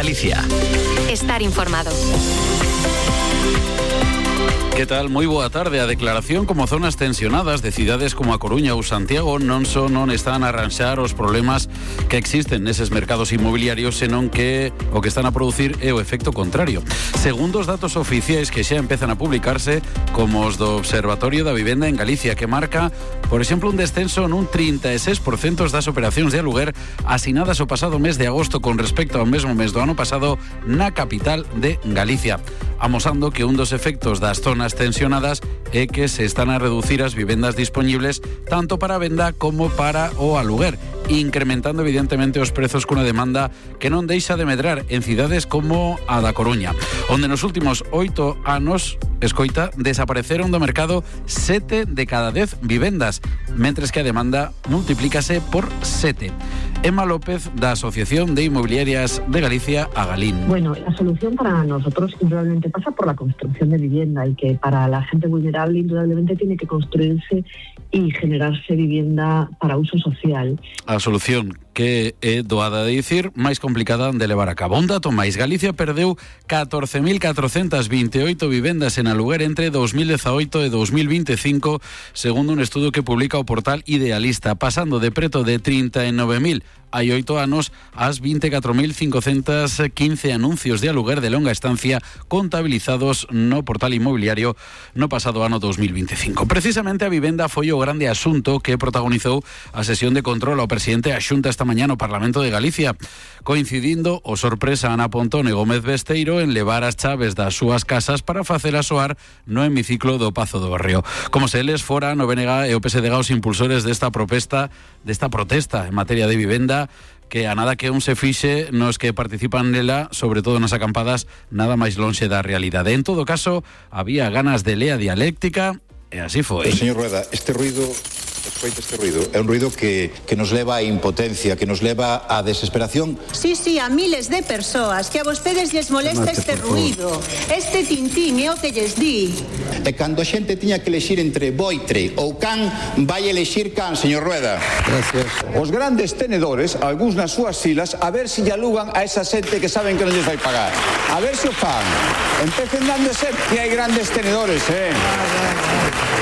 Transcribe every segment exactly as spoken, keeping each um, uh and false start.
Galicia. Estar informado. Que tal? Moi boa tarde. A declaración como zonas tensionadas de cidades como A Coruña ou Santiago non só non están a arranxar os problemas que existen neses mercados inmobiliarios, senón que o que están a producir é o efecto contrario. Segundo os datos oficiais que xa empezan a publicarse, como os do Observatorio da Vivenda en Galicia, que marca, por exemplo, un descenso nun trinta e seis por cento das operacións de aluguer asinadas o pasado mes de agosto con respecto ao mesmo mes do ano pasado na capital de Galicia, amosando que un dos efectos das zonas tensionadas é que se están a reducir as vivendas disponibles tanto para a venda como para o aluguer, incrementando evidentemente os prezos cunha demanda que non deixa de medrar en cidades como a da Coruña, onde nos últimos oito anos, escoita, desapareceron do mercado sete de cada dez vivendas, mentres que a demanda multiplícase por sete. Emma López, da Asociación de Inmobiliarias de Galicia, Agalín. Bueno, la solución para nosotros indudablemente pasa por la construcción de vivienda, y que para la gente vulnerable indudablemente tiene que construirse y generarse vivienda para uso social. A solución que é doada de dicir, máis complicada de levar a cabo. Un dato máis, Galicia perdeu catorce mil catrocentas vinte e oito vivendas en aluguer entre dos mil dezaoito e dos mil vinte e cinco, segundo un estudo que publica o portal Idealista, pasando de preto de trinta e nove mil hai oito anos ás vinte e catro mil cincocentos quince anuncios de aluguer de longa estancia contabilizados no portal inmobiliario no pasado ano dos mil vinte e cinco. Precisamente a vivenda foi o grande asunto que protagonizou a sesión de control ao presidente da Xunta esta mañá no Parlamento de Galicia, coincidindo o sorpresa Ana Pontón e Gómez Besteiro en levar as chaves das súas casas para facela soar no hemiciclo do Pazo do Barrio. Como se eles foran o B N G e o P S D G os impulsores desta protesta, desta protesta en materia de vivenda, que a nada que un se fixe nos que participan nela, sobre todo nas acampadas, nada máis lonxe da realidade. En todo caso, había ganas de lea dialéctica e así foi. Pero, señor Rueda, este ruido... Escoita este ruido. É un ruido que, que nos leva a impotencia, que nos leva a desesperación. Sí, sí, a miles de persoas que a vostedes les molesta este ruido, este tintín, é o que lles di. E cando a xente tiña que elexir entre boitre ou can, vai elexir can, señor Rueda. Gracias. Os grandes tenedores, algúns nas súas filas, a ver se lle alugan a esa xente que saben que non lles vai pagar. A ver se o fan. Empecen dando ser que hai grandes tenedores, eh?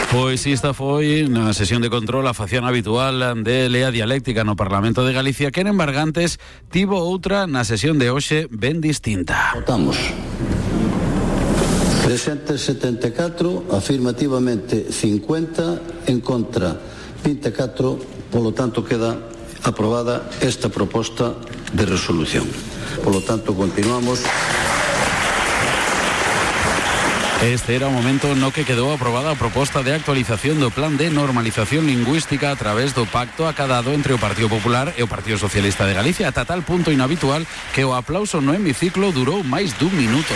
Pois esta foi na sesión de control a facción habitual de lea dialéctica no Parlamento de Galicia, que en Embargantes tivo outra na sesión de hoxe ben distinta. Votamos. Presentes setenta e catro, afirmativamente cincuenta, en contra vinte e catro, polo tanto queda aprobada esta proposta de resolución. Polo tanto, continuamos. Este era o momento no que quedou aprobada a proposta de actualización do Plan de Normalización Lingüística a través do pacto acadado entre o Partido Popular e o Partido Socialista de Galicia, ata tal punto inhabitual que o aplauso no hemiciclo durou máis dun minuto.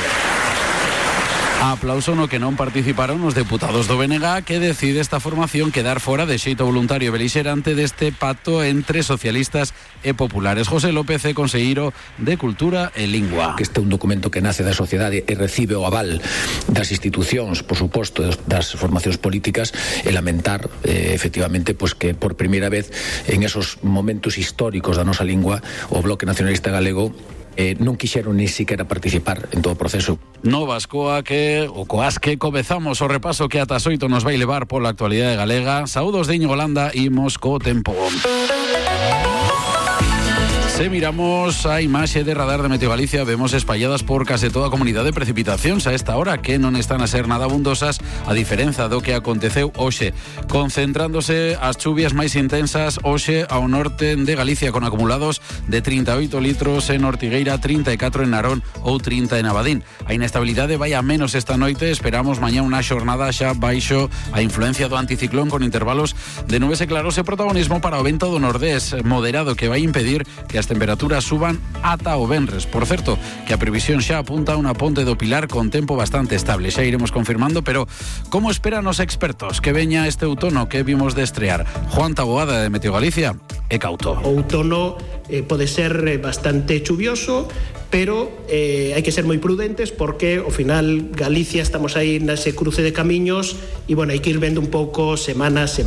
Aplauso no que non participaron os deputados do B N G, que decide esta formación quedar fora de xeito voluntario e belixerante deste pacto entre socialistas e populares. José López é conselleiro de Cultura e Lingua. Que este é un documento que nace da sociedade e recibe o aval das institucións, por suposto, das formacións políticas, e lamentar, eh, efectivamente, pues, que por primeira vez en esos momentos históricos da nosa lingua o Bloque Nacionalista Galego Eh, non quixeron ni siquiera participar en todo o proceso. No Vascoa que o coas que comezamos o repaso que ata as oito nos vai levar pola actualidade galega. Saúdos de Íñigo Landa, imos co tempo. Se miramos a imaxe de radar de Meteo Galicia, vemos espalladas por case toda a comunidade precipitacións a esta hora que non están a ser nada abundosas, a diferenza do que aconteceu hoxe, concentrándose as chuvias máis intensas hoxe ao norte de Galicia, con acumulados de trinta e oito litros en Ortigueira, trinta e catro en Narón ou trinta en Abadín. A inestabilidade vai a menos esta noite, esperamos mañá unha xornada xa baixo a influencia do anticiclón, con intervalos de nubes e claros e protagonismo para o vento do nordés moderado, que vai impedir que as temperaturas suban ata o venres. Por certo, que a previsión xa apunta a unha ponte do Pilar con tempo bastante estable. Xa iremos confirmando, pero como esperan os expertos que veña este outono que vimos de estrear? Juan Taboada, de Meteo Galicia, é cauto. O outono eh, pode ser bastante chuvioso, pero eh, hai que ser moi prudentes, porque ao final Galicia estamos aí nese cruce de camiños e, bueno, hai que ir vendo un pouco semana a semana.